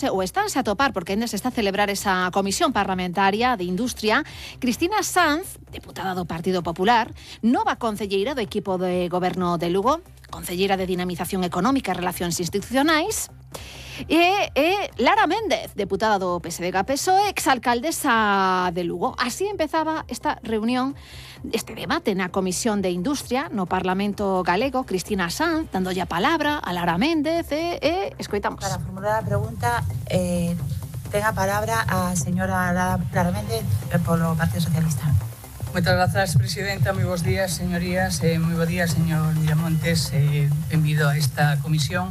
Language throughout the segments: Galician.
o estánse a topar porque ainda se está a celebrar esa comisión parlamentaria de industria. Cristina Sanz, deputada do Partido Popular, nova concelleira do equipo de goberno de Lugo, concelleira de Dinamización Económica e Relacións Institucionais, e Lara Méndez, deputada do PSDG-PSOE, exalcaldesa de Lugo. Así empezaba esta reunión, este debate na Comisión de Industria no Parlamento Galego. Cristina Sanz dándolle a palabra a Lara Méndez escoitamos. Para formular a pregunta, ten a palabra a señora Lara Méndez polo Partido Socialista. Moitas grazas, presidenta. Moi bons días, señorías. Moi bons días, señor Miramontes. Benvido a esta comisión.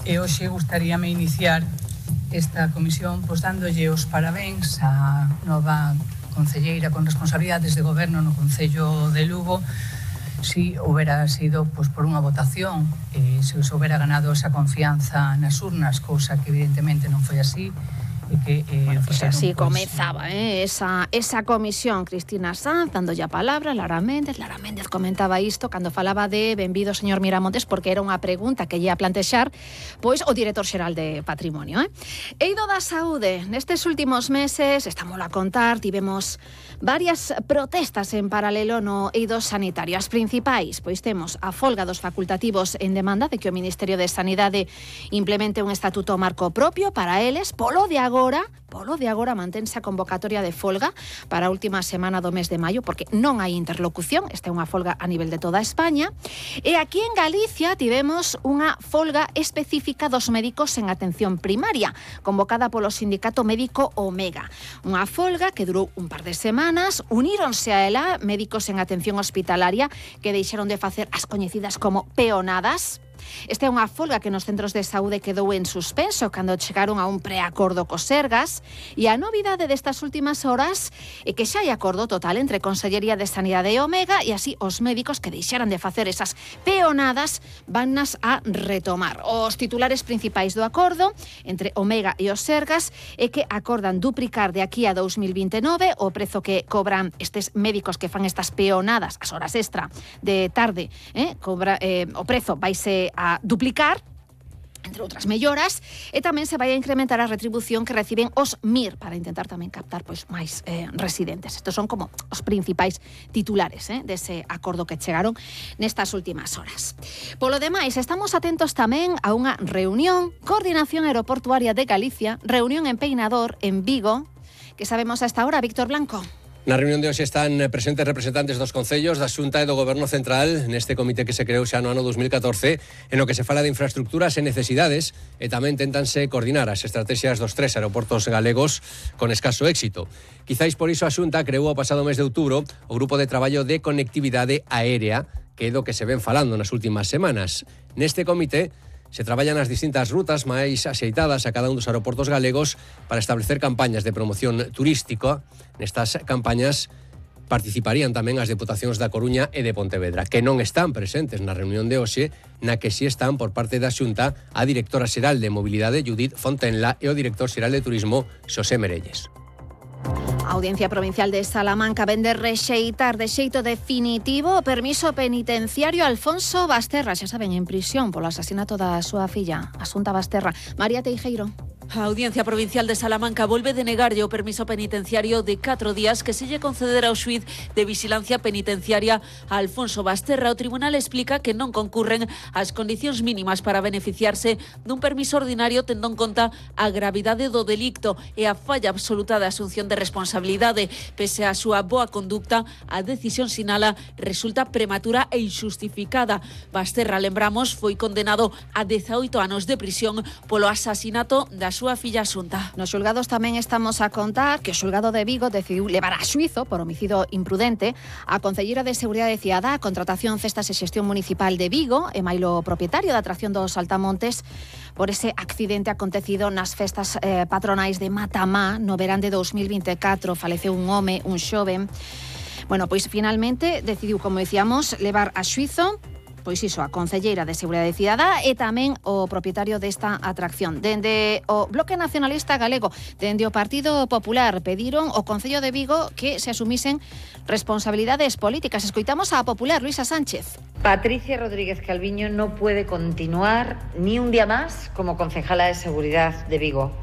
Hoxe gustaríame iniciar esta comisión dándolle os parabéns á nova concelleira con responsabilidades de goberno no Concello de Lugo. Si houbera sido por unha votación, se os houbera ganado esa confianza nas urnas, cousa que evidentemente non foi así. Así comezaba esa comisión. Cristina Sanz dándolle a palabra, Lara Méndez comentaba isto cando falaba de benvido señor Miramontes, porque era unha pregunta que lle a plantexar pois o director xeral de Patrimonio. Eido da saúde, nestes últimos meses, estámoslo a contar, tivemos varias protestas en paralelo no eido sanitario. As principais, pois temos a folga dos facultativos en demanda de que o Ministerio de Sanidade implemente un estatuto marco propio para eles. Polo de agora mantense a convocatoria de folga para a última semana do mes de maio, porque non hai interlocución. Esta é unha folga a nivel de toda España. E aquí en Galicia tivemos unha folga específica dos médicos en atención primaria, convocada polo sindicato médico Omega. Unha folga que durou un par de semanas. Uníronse a ela médicos en atención hospitalaria que deixaron de facer as coñecidas como peonadas. Esta é unha folga que nos centros de saúde quedou en suspenso cando chegaron a un preacordo co Sergas, e a novidade destas últimas horas é que xa hai acordo total entre Consellería de Sanidade e Omega, e así os médicos que deixaran de facer esas peonadas vannas a retomar. Os titulares principais do acordo entre Omega e os Sergas é que acordan duplicar de aquí a 2029 o prezo que cobran estes médicos que fan estas peonadas, as horas extra de tarde, o prezo vaise a duplicar, entre outras melloras, e tamén se vai a incrementar a retribución que reciben os MIR para intentar tamén captar máis residentes. Estos son como os principais titulares dese acordo que chegaron nestas últimas horas. Polo demais, estamos atentos tamén a unha reunión, Coordinación Aeroportuaria de Galicia, reunión en Peinador, en Vigo, que sabemos a esta hora, Víctor Blanco. Na reunión de hoxe están presentes representantes dos concellos, da Xunta e do Goberno Central neste comité que se creou xa no ano 2014, en o que se fala de infraestructuras e necesidades, e tamén tentanse coordinar as estrategias dos 3 aeroportos galegos con escaso éxito. Quizáis por iso a Xunta creou o pasado mes de outubro o Grupo de Traballo de Conectividade Aérea, que é do que se ven falando nas últimas semanas. Neste comité se traballan as distintas rutas máis axeitadas a cada un dos aeroportos galegos para establecer campañas de promoción turística. Nestas campañas participarían tamén as deputacións da Coruña e de Pontevedra, que non están presentes na reunión de hoxe, na que si están por parte da Xunta a directora xeral de Mobilidade, Judith Fontenla, e o director xeral de Turismo, Xosé Merelles. A Audiencia Provincial de Salamanca vende rexeitar de xeito definitivo o permiso penitenciario a Alfonso Basterra, xa saben, en prisión polo asasinato da súa filla, Asunta Basterra. María Teijeiro. A Audiencia Provincial de Salamanca volve denegarlle o permiso penitenciario de 4 días que se lle concederá ao xuíz de vigilancia penitenciaria a Alfonso Basterra. O tribunal explica que non concurren as condicións mínimas para beneficiarse dun permiso ordinario, tendo en conta a gravidade do delicto e a falla absoluta da asunción de responsabilidade. Pese a súa boa conducta, a decisión sinala resulta prematura e injustificada. Basterra, lembramos, foi condenado a 18 anos de prisión polo asasinato da súa filla Asunta. Nos xulgados tamén estamos a contar que o xulgado de Vigo decidiu levar a xuízo por homicidio imprudente a concelleira de Seguridade Cidadá, Contratación, Cestas e Xestión Municipal de Vigo, e mailo propietario da atracción dos Saltamontes, por ese accidente acontecido nas festas patronais de Matamá no verán de 2024. Faleceu un home, un xoven. Bueno, pois finalmente decidiu, como dicíamos, levar a xuízo pois iso, a concelleira de Seguridade Cidadá e tamén o propietario desta atracción. Dende o Bloque Nacionalista Galego, dende o Partido Popular, pediron ao Concello de Vigo que se asumisen responsabilidades políticas. Escoitamos a Popular, Luisa Sánchez. Patricia Rodríguez Calviño no puede continuar ni un día más como concejala de Seguridad de Vigo.